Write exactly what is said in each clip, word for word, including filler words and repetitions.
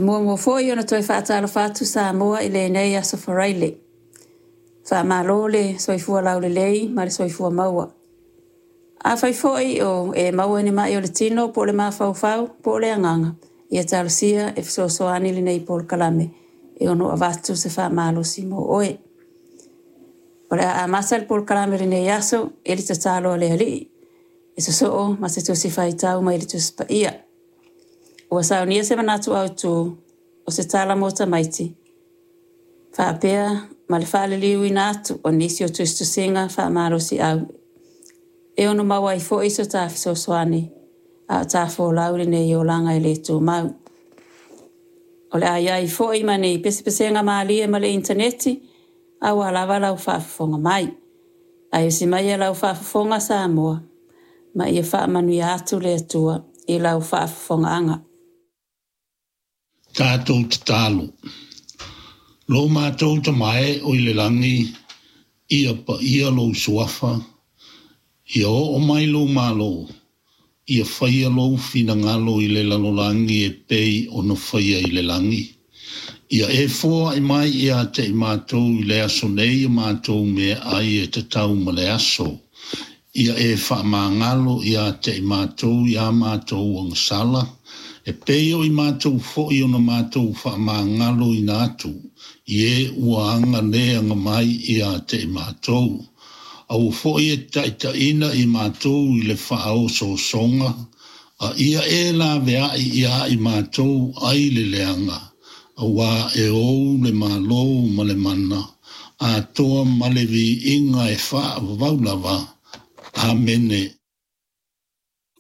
E muamua foi ona toe faatalofa atu Samoa i lenei aso Faraile. Faamalo le soifua laulelei ma le soifua maua. Afai foi o e maua i ni mai o le tino po o le mafaufau po o le agaga, ia talosia e fesoasoani lenei polokalame e ono avatu se faamalosi mo oe. O le a amata le polokalame i lenei aso i le tatalo a le Alii, e sosoo ma se tusi faitau mai le Tusi Paia. Ua saunia se manatu autu o se tala mo tamaiti, faapea ma le faaliliuina atu o nisi o tusitusiga faamalosiau e ono maua ai foi so ta fesoasoani a o ta folau i lenei olaga e le tumau. O le a i ai foi ma ni pesepesega malie ma le initaneti aua lava lau faafofoga mai. Ae usi maia lau faafofoga Samoa ma ia faamanuia atu le Atua i lau faafofogaaga. Tatou tatalo. Lo matou Tama e o i le lagi, ia paia lou suafa, ia oo mai lou Malo, ia faia lou finagalo i le lalolagi e pei ona faia i le lagi. Ia e foai mai ia te i matou i le aso nei a matou meaai e tatau ma le aso. Ia e faamagalo ia te i matou ia matou agasala, e pei o i matou foi ona matou faamagaloina atu i e ua aga le aga mai ia te i matou. Aua foi e taitaiina i matou i le faaosoosoga, a ia e laveai ia i matou ai le leaga, auā e ou le Malo ma le mana, atoa ma le viiga e faavavau lava. Amene.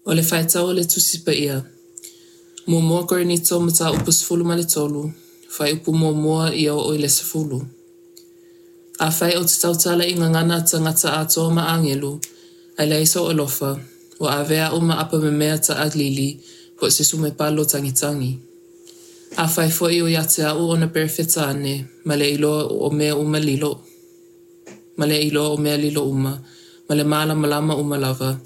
O le faitau o le Tusi Paia. Muamua Korinito Mataupu sefulu ma le tolu, fuaiupu muamua ia oo i le sefulu. Afai ou te tautala i gagana a tagata atoa ma agelu, ae leai sou alofa, ua avea au ma apamemea taʻalili po o se sumepalo tagitagi. Afai foi o ia te au ona perofeta ane, ma le iloa o mea uma lilo ma le iloa o mea lilo uma, ma le malamalama uma lava,